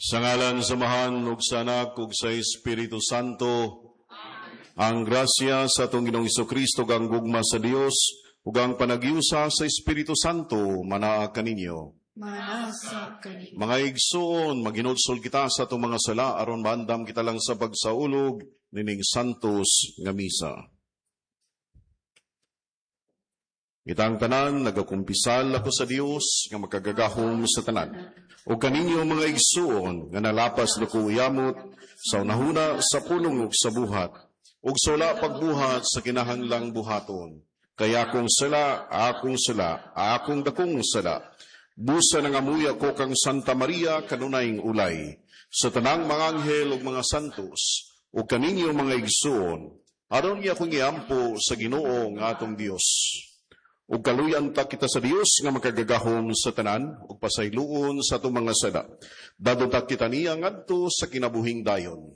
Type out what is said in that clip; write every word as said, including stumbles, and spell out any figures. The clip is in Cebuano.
Sa ngalan sa Amahan ug sa Anak ug sa Espiritu Santo, ang grasya sa atong Ginoong Kristo ug ang gugma sa Dios ug ang panaghiusa sa Espiritu Santo manaa kaninyo. Manasa kaninyo. Mga igsoon, maghinulsol kita sa atong mga sala aron maandam kita lang sa pagsaulog nining santos nga misa. Kitang tanan, nagakumpisal ako sa Dios nga makagagahom sa tanan. Ug kaninyo mga igsuon nga nalapas dako yamot sa unahuna sa pulong ug sa buhat ug sa wala pagbuhat sa kinahanglang buhaton. Kay akong sala, akong sala, akong dakong sala. Busa nangamuya ko kang Santa Maria kanunayng ulay sa tanang mga anghel ug mga santos ug kaninyo mga igsuon aron niya akong iampo sa Ginoo nga atong Dios. Ug kaluyan ta kita sa Dios nga makagagahom sa tanan ug pasayloon sa atong mga sala. Dadto ta kita niya ngadto sa kinabuhing dayon.